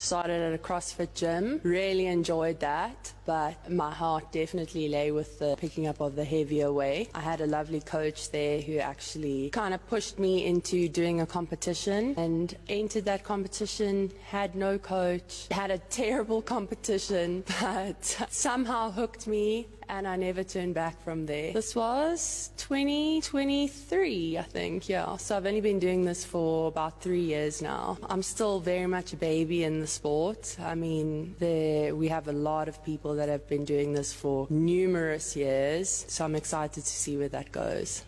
Started at a CrossFit gym, really enjoyed that, but my heart definitely lay with the picking up of the heavier weight. I had a lovely coach there who actually kind of pushed me into doing a competition and entered that competition, had no coach, had a terrible competition, but somehow hooked me and I never turned back from there. This was 2023, I think, yeah. So I've only been doing this for about three years now. I'm still very much a baby in the sport. I mean, there, we have a lot of people that have been doing this for numerous years, so I'm excited to see where that goes.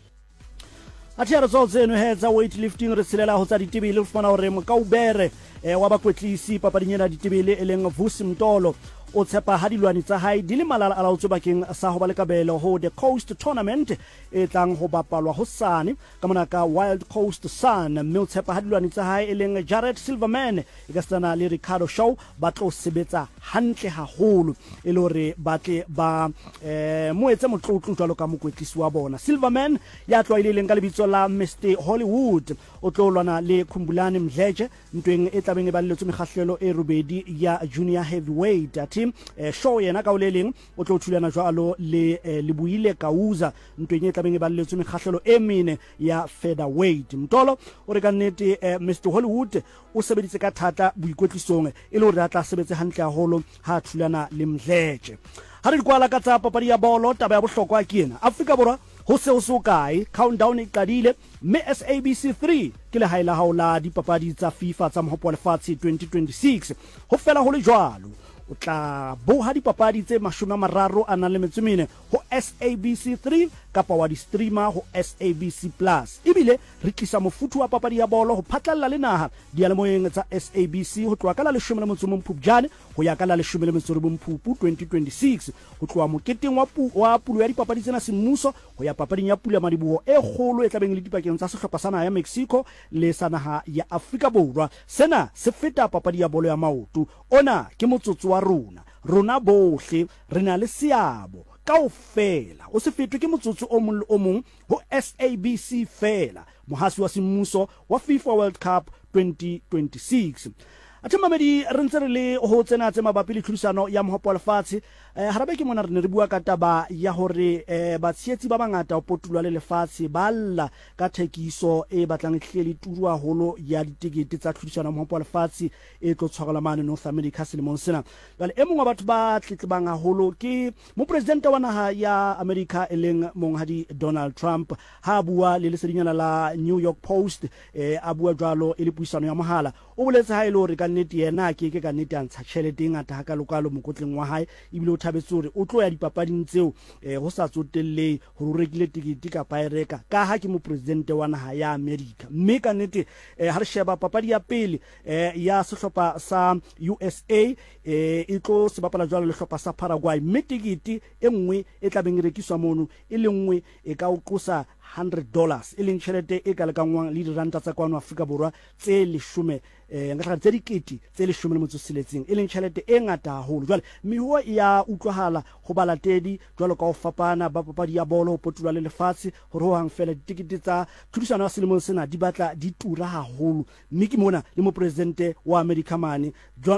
Athe re tswa tseno he tsa weightlifting re tshelela ho tsa ditebele re fumana hore mokaubere eh, wa bakwetlisi papading ena ditebele e leng Vusi Mtolo o tshepa ha dilwani tsa hae di le malala a laotswe bakeng sa ho ba le kabelo ho The Coast Tournament e tlang ho bapalwa hosane ka mona ka Wild Coast Sun mme o tshepa ha dilwani tsa hae e leng Jared Silverman e ka setsana le Ricardo Shaw ba tlo sebetsa hantle haholo e le hore ba tle ba eh, mo etse motlotlo jwalo ka mokwetlisi wa bona. Silverman ya tlwaelehileng ka lebitso la Mr Hollywood o tlo lwana le Khumbulani Mdletshe ntweng e tlabeng e balelletswe mekgahlelo e robedi ya junior heavyweight. Athe eh, Shaw yena ka o le leng o tlo thulana jwalo le eh, Leboile Kauza ntweng e tlabeng e balelletswe mekgahlelo e mene ya featherweight. Mtolo o re ka nnete eh, Mr Hollywood O sebeditse ka thata boikwetlisong e le hore a tla sebetse hantle haholo ha a thulana le Mdletshe. Ha re di kwala ka tsa papadi ya bolo, taba ya bohlokwa ke ena. Afrika Borwa ho se ho se hokae, countdown e qadile mme SABC 3 ke lehae la hao la dipapadi tsa FIFA tsa Mohope wa Lefatshe 2026. Ho fela ho le jwalo, o tla boha dipapadi tse 30 a nang le metso e mene ho SABC 3 kapa wa di streama ho SABC Plus. Ebile Re tlisa mofuthu wa papadi ya bolo ho phatlalla le naha diyalemoyeng tsa SABC ho tloha ka la 11 Phupjane ho ya ka la 19 Phupu 2026, ho tloha moketeng wa wa pulo ya dipapadi tsena semmuso ho ya papading ya pulamadiboho e kgolo e tlabeng e le dipakeng tsa sehlopha sa naha ya Mexico le sa naha ya Afrika Borwa. Sena se feta papadi ya bolo ya maoto. Ona ke motsotso wa rona. Rona bohle re na le seabo kaofela. O se fetwe ke motsotso o mong le o mong ho SABC feela, mohasi wa semmuso wa FIFA World Cup 2026. Athe mamedi re ntse re le ho tsena tse mabapi le tlhodisano ya mohopo wa lefatshe. Eh, hara beke mona re ne re bua ka taba ya hore eh, batshehetsi ba bangata ho potulwa le lefatshe ba lla ka thekiso e batlang e hlile le turu haholo ya ditekete tsa tlhodisano ya mohopo wa lefatshe e tlo tshwarelwa mane North America selemong sena. Jwale e mong wa batho ba tletlebang haholo ke Mopresidente wa naha ya Amerika e leng Monghadi Donald Trump. Ha a bua le lesedinyana la New York Post, eh, a bua jwalo e le puisano ya mohala, o boletse ha e le hore ka nnete yena a ke ke ka nnete a ntsha tjhelete e ngata hakalokalo mokotleng wa hae, ebile o thabetse hore o tlo ya dipapading tseo eh, ho sa tsotellehe hore o rekile tekete kapa a e reka, kaha ke mopresidente wa naha ya Amerika. Mme ka nnete eh, ha re sheba papadi ya pele eh, ya sehlopha sa USA eh, e tlo se bapala jwalo le hlopha sa Paraguay, mme tekete e nngwe e tla beng e rekiswa mono e le nngwe e ka o qosa $100, e leng tjhelete e ka lekanngwang le diranta tsa kwano Afrika Borwa tse leshome eh, nka tse dikete tse 16, e leng tjhelete e ngata haholo. Jwale mehuo e ya utlwahala ho balatedi jwalo ka ho fapana ba papadi ya bolo ho potolwa le lefatshe hore ho hang feela ditekete tsa tlhodisano ya selemong sena di batla di tura haholo. Mme ke mona le mopresidente wa Amerika mane,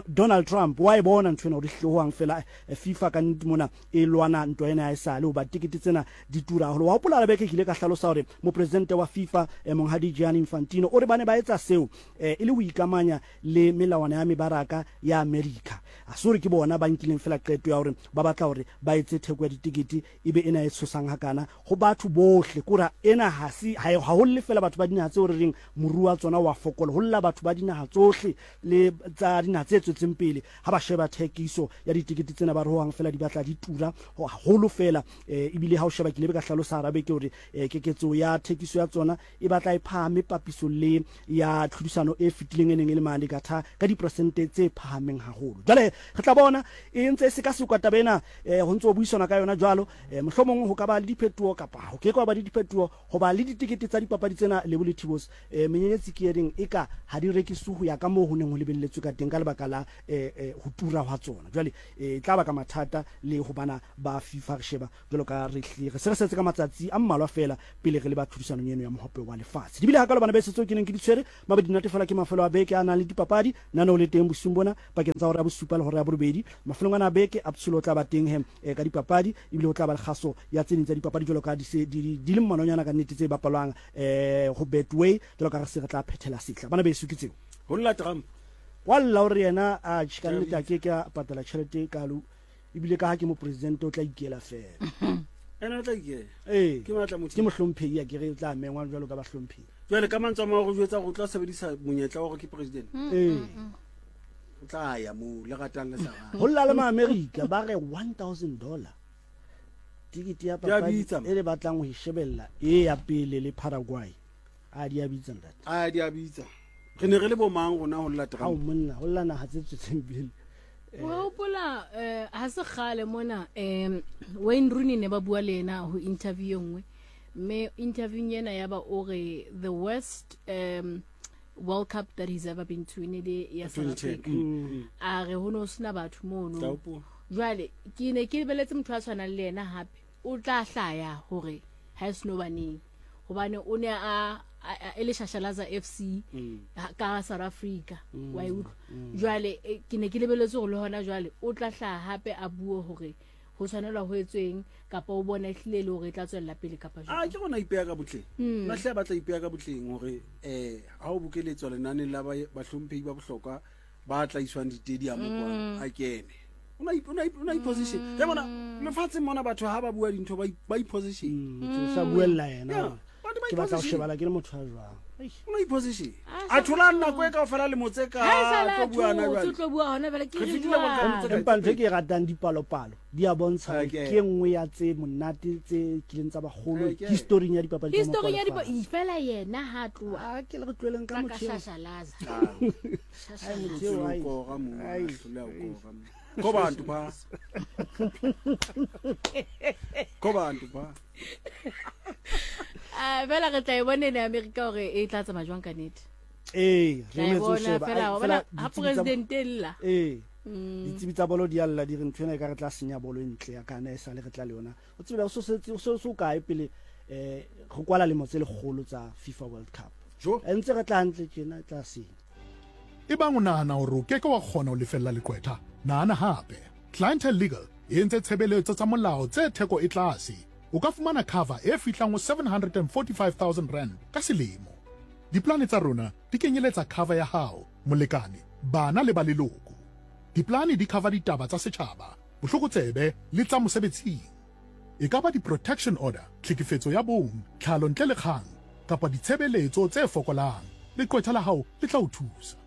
Donald Trump, wa e bona ntho ena hore ehlile hohang feela eh, FIFA ka nnete mona e lwana ntwa ena ya esale hoba tikete tsena di tura haholo. Wa hopola beke ke ile ka hlalosa hore mopresidente wa FIFA eh, monghadi Gianni Infantino o re ba ne ba etsa seo eh, e le ho ikamanya le melawana ya mebaraka ya Amerika. A se hore ke bona ba nkileng feela qeto ya hore ba batla hore ba etse theko ya ditekete e be ena e tshosang hakana ho batho bohle. Kore ena ha se ha ho lle fela batho ba dinaha tseo re reng moruo wa tsona wa fokola, ho lla batho ba dinaha tsohle le tsa dinaha tse tswetseng pele ha ba sheba thekiso ya ditekete tsena ba re hohang fela di batla di tura haholo fela. Eh, ebile ha o sheba ke ile ka hlalosa hara beke hore eh, keketso ya thekiso ya tsona e batla e phahame papiso le ya tlhodisano e fetileng e neng e le mane ka tha ka diperesente tse phahameng haholo. Jwale Re tla bona e ntse e sekasekwa taba ena, ho ntse ho buisanwa ka yona jwalo. Mohlomong ho ka ba le diphetoho kapa ho ke ke hwa ba le diphetoho. Hoba le ditekete tsa dipapadi tsena, Lebo le Thibos, menyenyetsi ke e reng eka ha di rekiswe ho ya ka moo ho neng ho lebelletswe ka teng ka lebaka la ho tura hwa tsona. Jwale e tla baka mathata le ho bana ba FIFA. Re sheba jwalo ka re hlile re se re setse ka matsatsi a mmalwa feela pele re leba tlhodisanong eno ya Mohope wa Lefatshe. Di bile hakalo bana beso tseo ke neng ke di tshwere. Mabedi nate fela ke mafelo a beke a nang le dipapadi. Naneo le teng bosiung bona pakeng tsa hora ya bosupa le hora ya borobedi. Mafelong ana a beke, Abtsholo o tla ba teng he ka dipapadi ebile ho tla ba le kgaso ya tse ding tsa dipapadi jwalo ka di se di di le mmalwanyana ka nnete tse bapalwang ho Betway jwalo ka re se re tla phethela sehla. Bana beso ke tseo. Ho lla Trump. Wa lla o re yena atjhe ka nnete a ke ke a patala tjhelete e kalo ebile ka ha ke mopresidente o tla ikela feela. Ena o tla ikela. Ee. Ke matla motho. Ke mohlomphehi a ke re o tla mengwa jwalo ka bahlomphehi. Jwale ka mantswe a mang o re jwetsa gore o tla sebedisa monyetla wa gore ke president. Ee. O tla ya moo le ratang le sa rate. Ho lla le Maamerika ba re 1000 dollar tikete ya Di a papadi bitsa, man. e le batlang ho e shebella e ya pele le Paraguay. A di a bitsa ntate. A di a bitsa. Re ne re le bo mang rona ho lla Hao Trump? monna, ho lla naha tse tswetseng pele. Wa hopola ha se kgale mona Wayne Rooney ne ba bua le yena ho interview e nngwe mme interviewng ena ya ba o re the worst World Cup that he's ever been to ne le ya South 2010. Africa a re ho no sena batho mono Tla hopola. jwale ke ne ke lebeletse motho a tshwanang le yena hape o tla hlaya hore ha e seno baneng hobane o ne a e le Shashalaza FC ka South Africa wa e utlwa jwale ke ne ke lebeletse hore le hona jwale o tla hlaha hape a bue hore ho tshwanelwa ho etsweng kapa o bona ehlile e le hore e tla tswella pele kapa A jwang ke rona ipeya ka botleng. Nna hle ba tla ipeya ka botleng hore ha o bokeletswa lenaneng la bahlomphehi ba bohlokwa ba tla iswang ditediamo kwa a kene. O na i-position. Ke bona lefatsheng mona batho ha ba bua dintho ba i-position. O sa buella yena. Yeah, batho ba Ke batla ho i-position. shebala ke le motho a jwang. Eish. O na i-position. Ah, A thola nako e kaofela lemo tse ka Ha e sa la tlo bua hona thotse, jwale. o tlo bua hona jwale, ke Re re fetile World Cup jwang? tse kae? Empa ntho e ke e ratang dipalopalo di a bontsha hore Okay. ke e nngwe ya tse monate tse kileng tsa bagolo Okay. historing ya dipapadi tsa Historing ya mokwalefara. fela yena ha tloha. A ke le re tlohelleng ka Ka motho eo. shashalaza. Ai, motho eo, ai. Kora mo, Ai. hloleha ho kora mo. Ko bantu ba. Ko bantu ba. Ah, fela re tla e bona ene Amerika hore e tla tsamaya jwang ka nnete. Ee, re Tla e emetse ho bona sheba. fela, Ai, wa fela bona ha ditsebi tsa- president e lla. Ee. Ditsebi tsa bolo di a lla di re ntho ena e ka re tla senya bolo e ntle ya kana e sale re tla le yona. O tsebe o so setse o so so kae pele re kwala lemo tse lekgolo tsa FIFA World Cup. Jo. E ntse re tla hantle tjena e tla senya. Ebang o nahana hore o ke ke wa kgona ho lefella leqwetha, nahana hape. Clientele Legal e entse tshebeletso tsa molao tse theko e tlase. O ka fumana cover e fihlang ho R745 000 ka selemo. Diplane tsa rona di kenyeletsa cover ya hao, molekane, bana le ba leloko. Diplane di cover ditaba tsa setjhaba, bohlokotsebe le tsa mosebetsing. E ka ba di-protection order, tlhekefetso ya bong, tlhalo ntle le kgang, kapa ditshebeletso tse fokolang, leqwetha la hao le tla o thusa.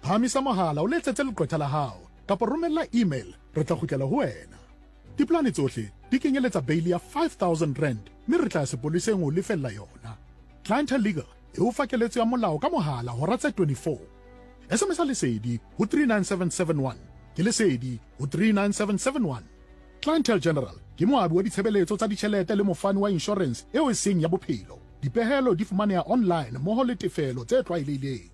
Phahamisa mohala o letsetse leqwetha la hao kapa romella email re tla kgutlela ho wena. Diplane tsohle di kenyeletsa beili ya R5000 mme re tla ya sepoleseng ho lefella yona. Clientele Legal e o fa keletso ya molao ka mohala hora tse 24. SMS-a Lesedi ho 39771. Ke Lesedi ho 39771. Clientele General ke moabi wa ditshebeletso tsa ditjhelete le mofani wa inshorense eo e seng ya bophelo. Dipehelo di fumaneha online mmoho le tefelo tse tlwaelehileng.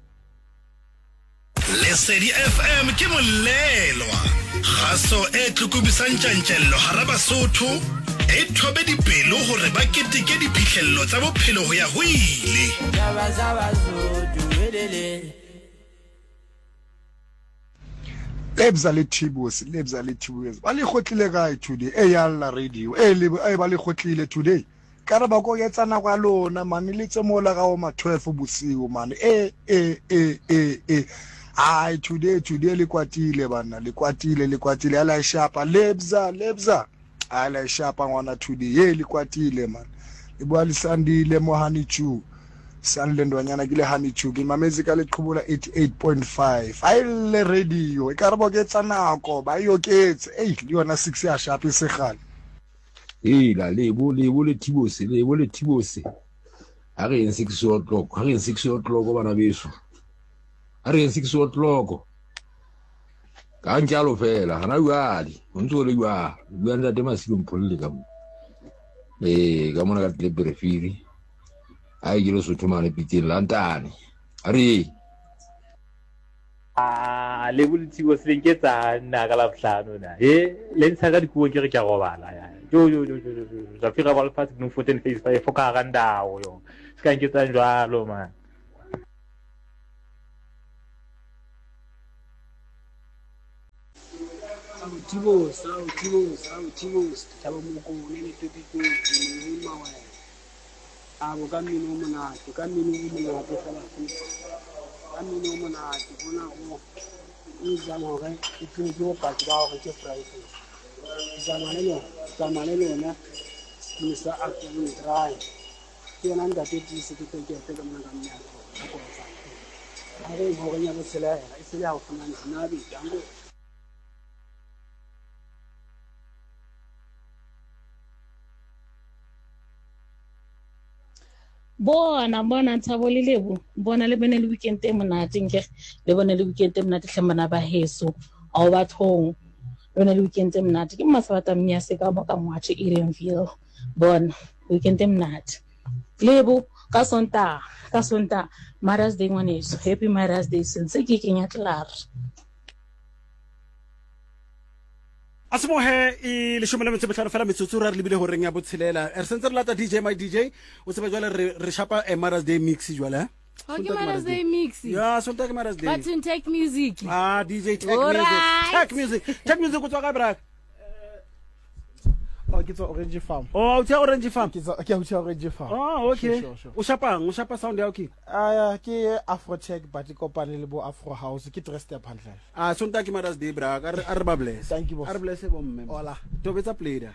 Lesedi FM ke molelwa. Kgaso e tlokobisang tjantjello hara Basotho, e thobe dipelo hore ba keteke diphihlello tsa bophelo ho ya ho ile. Lebza le Thibos, Lebza le Thibos. Ba le kgotlile kae today? E ya lla radio. E le e ba le kgotlile today. Ka re ba koketsa nako ya lona mane le tse mola ka oma 12 bosiu mane. E e e e e. Ai today today le kwatile bana, le kwatile le kwatile ala e shapa Lebza Lebza. Ala e shapa ngwana today. Ye le kwatile man. Le bua le Sandile mo Honey Chew. Sandile Ndwanyana ke le Honey Chew ke mametse ka leqhubo la 88.5. A e lle radio e ka re boketsa nako ba e oketse. Ei le yona 6 ya shape e segale. Hela lebo lebo le Thibose lebo le Thibose. Ha re yeng 6 o'clock, ha re yeng 6 o'clock bana beso. Ha re yeng 6 o'clock. Ka ntjalo fela hana jwale ho ntse ho le jwalo. Bua ntate Masilo Mpholle ka mo. Ee, ka mona ka tlile perefiri. Ai ke Lesotho mane pitseng lantane. A re Ah, le bolithibo se ke tsa nna ka labohlano na e le ntsha ka dikuo ke re ke a robala ya jo jo jo jo jo Zafira ba lefatshe Bloemfontein phase 5 ka hara ndao yo se ka nketsang jwalo man. Ao Thibos, ao Thibos, ao Thibos, Thabo Mokone le Topikoti, Moyeng Mawela. Abo ka mmino o monate, ka mmino o monate fela futhi. Ka mmino o monate, ona o o etsang hore ke tsebe ke bopaki ba hore ke Friday. Ke tsamaya le lona, ke tsamaya le lona sepini sa Afternoon Drive. Ke yena ntate Tiise ke tekete ka mona ka mme a kofa. A re horeng ya botshelela e sele haufinyane Zinabe danko. Bona bona Thabo le Lebo bona le bone le weekend e monate nkere le bone le weekend e monate hle bana ba heso ao bathong le bone le weekend e monate ke mmasabata mmiyase ka mo ka ngwathe Edenville bona weekend e monate Lebo ka Sontaga ka Sontaga Mother's Day ngwaneso happy Mother's Day sentse ke kenya tlare. A semohe e leshome le metso e mehlano fela metsotso ra re lebile horeng ya botshelela re sentse re lata dj my dj o tsebe jwale re re shapa a Mother's Day mix jwale eh? Oh, ke Mother's Day mix. Ya, Sontaga ke Mother's Day. Bathong tech music. Ah, DJ tech music. Tech music. Tech music o tswa kae braka? Oh, ke tswa Orange Farm. Oh, o tswa Orange Farm. Ke tswa ke tswa Orange Farm. Oh, okay. Sure, sure, sure. O shapang, o shapa sound ya okay. Ah, ke Afro Tech but ke kopane le bo Afro House, ke three step hantle. Ah, Sontaga ke Mother's Day bra, a re ba bless. Thank you boss. A re bless bo mme. Hola. Tobetsa play da.